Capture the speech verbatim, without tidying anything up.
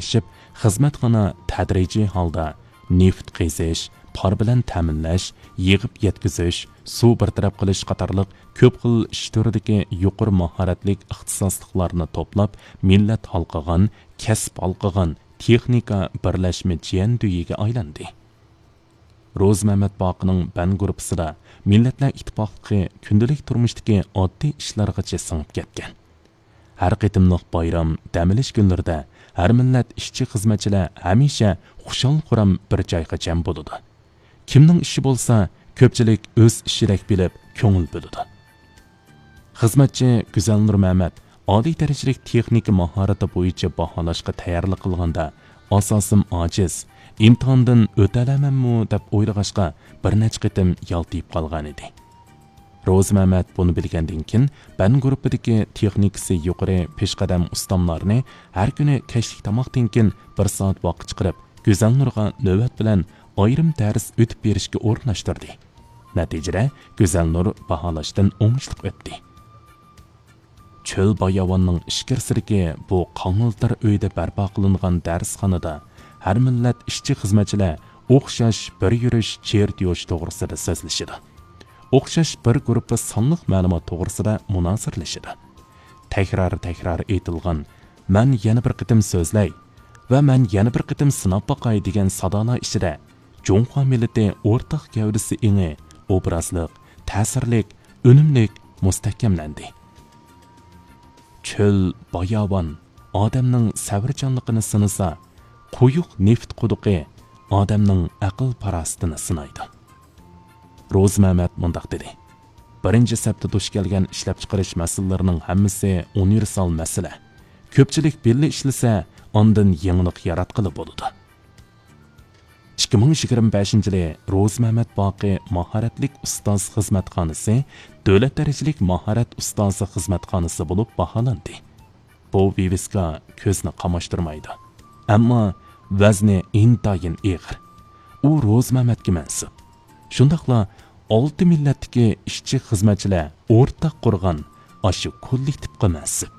ئورتاقلىشىپ، خىزمەتخانا تەدرىجىي ھالدا نېفىت قېزىش، پار بىلەن تەمىنلەش، يىغىپ يەتكۈزۈش، سۇ بىر تەرەپ قىلىش قاتارلىق كۆپ خىل ئىش تۈرىدىكى يۇقىرى ماھارەتلىك ئىختىساسلىقلارنى توپلاپ، مىللەت ھالقىغان، كەسىپ ھالقىغان تېخنىكا بىرلەشمە جيەندۈيىگە ئايلاندى. روزى مەمەت باقىنىڭ بەن گۇرۇپپىسىدا مىللەتلەر ئىتتىپاقلىقى كۈندىلىك تۇرمۇشتىكى ئاددىي ئىشلارغىچە سىڭىپ كەتكەن. ھەر قېتىملىق بايرام، دەم ئېلىش كۈنلىرىدە ھەر مىللەت ئىشچى-خىزمەتچىلەر ھەمىشە خۇشال-خۇرام بىر جايغا جەم بولىدۇ. كىمنىڭ ئىشى بولسا، كۆپچىلىك ئۆز ئىشىدەك بىلىپ كۆڭۈل بۆلىدۇ. خىزمەتچى گۈزەلنۇر مەمەت ئالىي دەرىجىلىك تېخنىكا ماھارىتى بويىچە باھالاشقا تەييارلىق قىلغاندا، ئاساسىم ئاجىز، ئىمتىھاندىن ئۆتەلەمەنمۇ دەپ ئويلىغاچقا، بىر نەچچە قېتىم يالتىيىپ قالغانىدى. روزى مەمەت بۇنى بىلگەندىن كېيىن، بەن گۇرۇپپىدىكى تېخنىكىسى يۇقىرى پېشقەدەم ئۇستاملارنى ھەر كۈنى كەچلىك تاماقتىن كېيىن بىر سائەت ۋاقىت چىقىرىپ، گۈزەلنۇرغا نۆۋەت بىلەن ئايرىم دەرس ئۆتۈپ بېرىشكە ئورۇنلاشتۇردى. نەتىجىدە، گۈزەلنۇر باھالاشتىن ئوڭۇشلۇق ئۆتتى. چۆل باياۋاننىڭ ئىچكىرىسىدىكى بۇ قاڭىلتىر ئۆيدە بەرپا قىلىنغان دەرسخانىدا ھەر مىللەت ئىشچى-خىزمەتچىلەر ئوخشاش بىر يۈرۈش چېرت يوش توغرىسىدا سۆزلىشىدۇ. ئوخشاش بىر گۇرۇپپا سانلىق مەلۇمات توغرىسىدا مۇنازىرىلىشىدۇ. تەكرار-تەكرار ئېيتىلغان «مەن يەنە بىر قېتىم سۆزلەي ۋە مەن يەنە بىر قېتىم سىناپ باقاي» دېگەن سادالار ئىچىدە جۇڭخۇا مىللىتى ئورتاق گەۋدىسى ئېڭى ئوبرازلىق، تەسىرلىك، ئۈنۈملۈك مۇستەھكەملەندى. چۆل، باياۋان ئادەمنىڭ سەۋرچانلىقىنى سىنىسا، قويۇق نېفىت قۇدۇقى ئادەمنىڭ ئەقىل-پاراسىتىنى سىنايدۇ. روزى مەمەت مۇنداق دېدى: «بىرىنچى سەپتە دۇچ كەلگەن ئىشلەپچىقىرىش مەسىلىلىرىنىڭ ھەممىسى ئۇنىۋېرسال مەسىلە. كۆپچىلىك بىللە ئىشلىسە، ئاندىن يېڭىلىق ياراتقىلى بولىدۇ.» ئىككى مىڭ يىگىرمە بەشىنچى يىلى روزى مەمەت باقى ماھارەتلىك ئۇستاز خىزمەتخانىسى دۆلەت دەرىجىلىك ماھارەت ئۇستازى خىزمەتخانىسى بولۇپ باھالاندى. بۇ ۋىۋىسكا كۆزنى قاماشتۇرمايدۇ. ئەمما ۋەزنى ئىنتايىن ئېغىر. ئۇ روزى مەمەتكە مەنسۇپ. شۇنداقلا ئالتە مىللەتتىكى ئىشچى-خىزمەتچىلەر ئورتاق قۇرغان ئاشۇ كوللېكتىپقا مەنسۇپ.